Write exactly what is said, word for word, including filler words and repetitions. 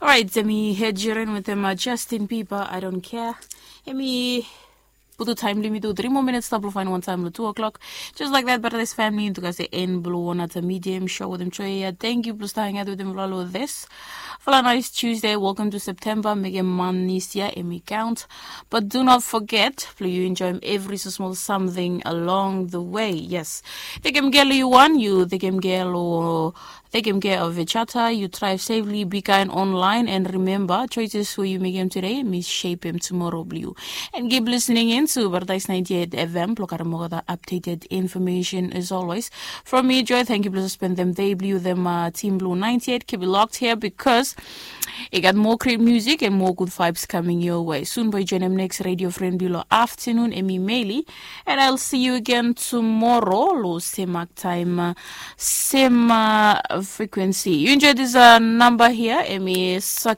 Orait, em i Ed Sheeran wetem Justin Bieber, I don't care. Em i putu taem blong yumi tu tri moa minits stap long faen wantaem long tu o'clock. Just like that, Paradise family, yumi tu gat se en blong One Ata Medium show wetem Joy ia. Thank you blong stap hangat wetem fala long this fala nice Tuesday. Welcome to September. Mekem manis ia em i count. But do not forget blong yu enjoyem every so small something along the way. Yes. Tekem gel yu wan, yu tekem gel o Tekem care of each other, yu drive safely, be kind online, and remember, choices we yu mekem today mi shapem tomorrow blong yu. And keep listening in to Paradise ninety-eight F M blong karem olgeta updated information as always. From me, Joy, thank you blong spendem day blong yu wetem uh, team blong ninety-eight. Keep it locked here because I gat more great music and more good vibes coming your way. Soon, boy, join them next radio friend below afternoon, Emmy Maley. And I'll see you again tomorrow, lo same time, uh, same uh, frequency. You enjoy this uh, number here, Emmy Suck